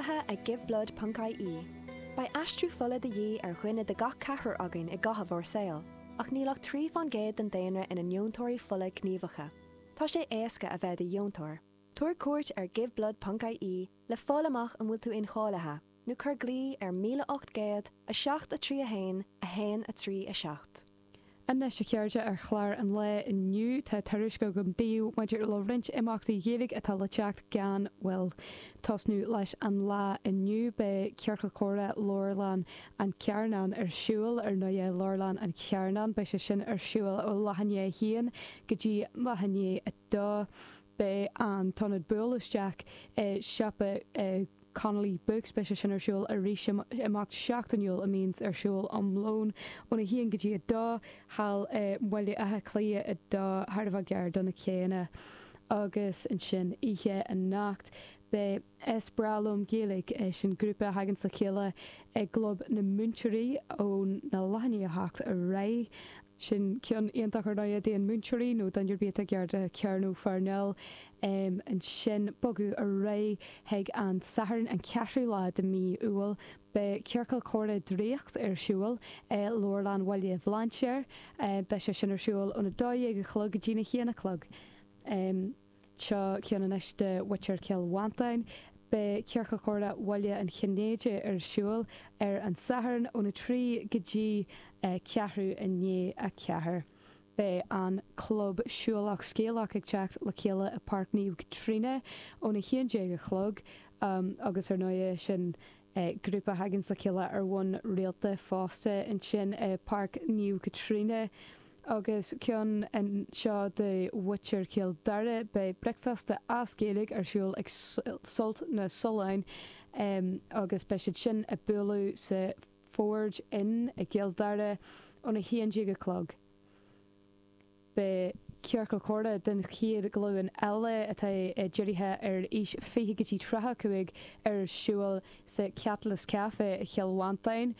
Maoinithe ag Giveblood ponc ie. Beidh aistriú fola de dhíth ar dhuine de gach ceathrar againn i gcaitheamh ár saoil, ach níl ach 3 fán gcéad den daonra ina ndeontóirí fola gníomhacha. Tá sé éasca a bheith i do dheontóir. Tabhair cuairt ar Giveblood ponc ie le fáil amach an bhfuil tú incháilithe, nó cuir glao ar 1800 7 3 1 1 3 7. Anois, a chairde, ar chlár an lae inniu, tá tuairisc agam daoibh maidir le roinnt imeachtaí Ghaeilge atá le teacht gan mhoill. Tosnú leis an lá inniu, beidh Ciorcal Comhrá Leabharlann an Chearnáin ar siúl, ar ndóighe, Leabharlann an Chearnáin, beidh sé sin ar siúl ó leath i ndiaidh a haon go dtí leath i ndiaidh a dó. Beidh an t-ionad buail isteach i siopa Connolly Books, beidh sé sin ar siúl arís, imeacht seachtainiúil a mbíonns ar siúl um lón óna haon go dtí a dó, thall i mBaile Átha Cliath 2, thar a bheith gar do na céanna. Agus ansin oíche anocht, beidh Is Breá Liom Gaeilge, sin grúpa a thaganns le chéile i gClub na Múinteoirí óna leath i ndiaidh a hocht ar aghaidh. Sin ceann iontach ar ndóighe d'aon múinteoirí nó duine ar bith atá gar do Chearnóg Pharnell. Ansin bogadh ar aghaidh chuig an Satharn an ceathrú lá de mí Iúil. Beidh Ciorcal Comhrá Draíocht ar siúl i Leabharlann Bhaile Bhlainséir. Beidh sé sin ar siúl óna 12 a chlog go dtína haon a chlog. Seo ceann anois do mhuintir Chill Mhantáin. Beidh Ciorcal Comhrá Bhaile an Chinnéidigh ar siúl ar an Satharn óna 3 go dtí ceathrú i ndiaidh a 4. Beidh an Club Siúlach Scéalach ag teacht le chéile i Páirc Naomh Caitríona óna 11 a chlog agus ar ndóighe sin grúpa a thaganns le chéile ar bhonn rialta fosta ansin i Páirc Naomh Caitríona. Agus ceann anseo do mhuintir Chill Dara, beidh bricfeasta as Gaeilge ar siúl ag Sult na Sollán agus beidh siad sin ag bualadh sa Forge Inn i gCill Dara óna 11 a chlog. Beidh ciorcal comhrá den chéad ghlúin eile, atá dírithe ar aois 20 go dtí 35, ar siúl sa Catalyst Café i Chill Mhantáin,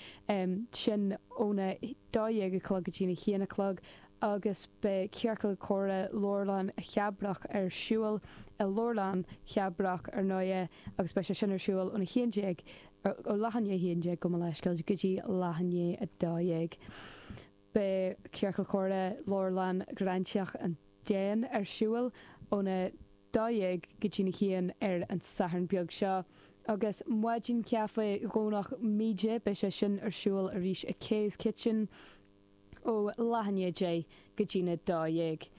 sin óna 12 a chlog go dtína haon a chlog, agus beidh ciorcal comhrá Leabharlann Chabrach ar siúl i Leabharlann Chabrach ar ndóighe agus beidh sé sin ar siúl óna 11, ó leath i ndiaidh a 11 gabh mo leithscéal go dtí leath i ndiaidh 12. Beidh Ciorcal Comhrá Leabharlann Ghráinseach an Déin ar siúl óna 12 go dtína haon ar an Satharn beag seo. Agus Maidin Chaife Dhomhnach Míde, beidh sé sin ar siúl arís i Kay's Kitchen ó leath i ndiaidh 10 go dtína 12.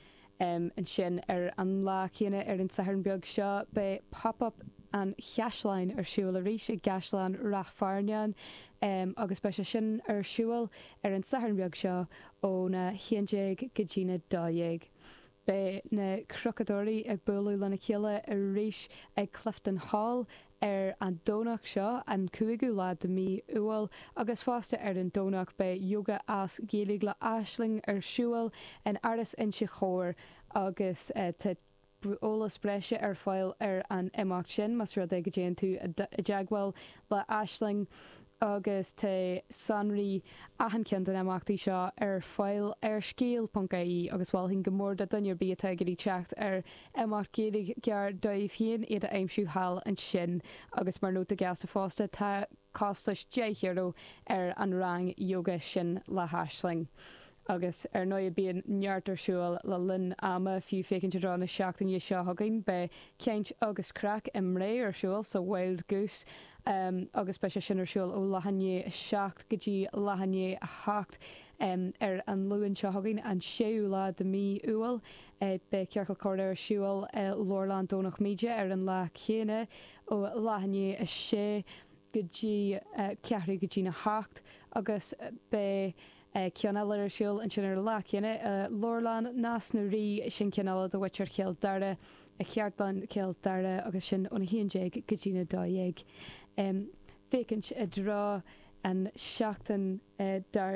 Ansin ar an lá céanna ar an Satharn beag seo beidh Pop Up an Chaisleáin ar siúl arís i gCaisleán Ráth Fearnáin agus beidh sé sin ar siúl ar an Satharn beag seo óna 11 go dtína 12. Beidh na Crochadóirí ag bualadh lena chéile arís ag Clifton Hall ar an Domhnach seo, an cúigiú lá de mí Iúil, agus fosta ar an Domhnach beidh Yoga as Gaeilge le Aisling ar siúl in Áras Inse Chór agus tá eolas breise ar fáil ar an imeacht sin más rud é go dtéann tú i dteagmháil le Aisling agus tá sonraí achan cheann de na himeachtaí seo ar fáil ar scéal ponc ie agus mholfainn go mór do dhuine ar bith atá ag iarraidh teacht ar imeacht Gaeilge gar dóibh féin iad a aimsiú thall ansin agus mar nóta gasta fosta tá costas €10 ar an rang yoga sin le hAisling. Agus ar ndóigh bíonn neart ar siúl le linn ama, fiú féachaint i dtreo na seachtaine seo chugainn, beidh Caint agus Craic i mBré ar siúl sa Wild Goose agus beidh sé sin ar siúl ó leath i ndiaidh a 7 go dtí leath i ndiaidh a 8 ar an Luan seo chugainn, an séú lá de mí Iúil. Beidh Ciorcal Comhrá ar siúl i Leabharlann Dhomhnach Míde ar an lá céanna ó leath i ndiaidh a 6 go dtí ceathrú go dtína hocht agus beidh Ceann eile ar siúl ansin ar an lá céanna i Leabharlann Nás na Rí, sin ceann eile do mhuintir Chill Dara, i Chartlann Chill Dara agus sin óna 11 go dtína 12. Féachaint i dtreo an seachtain dár.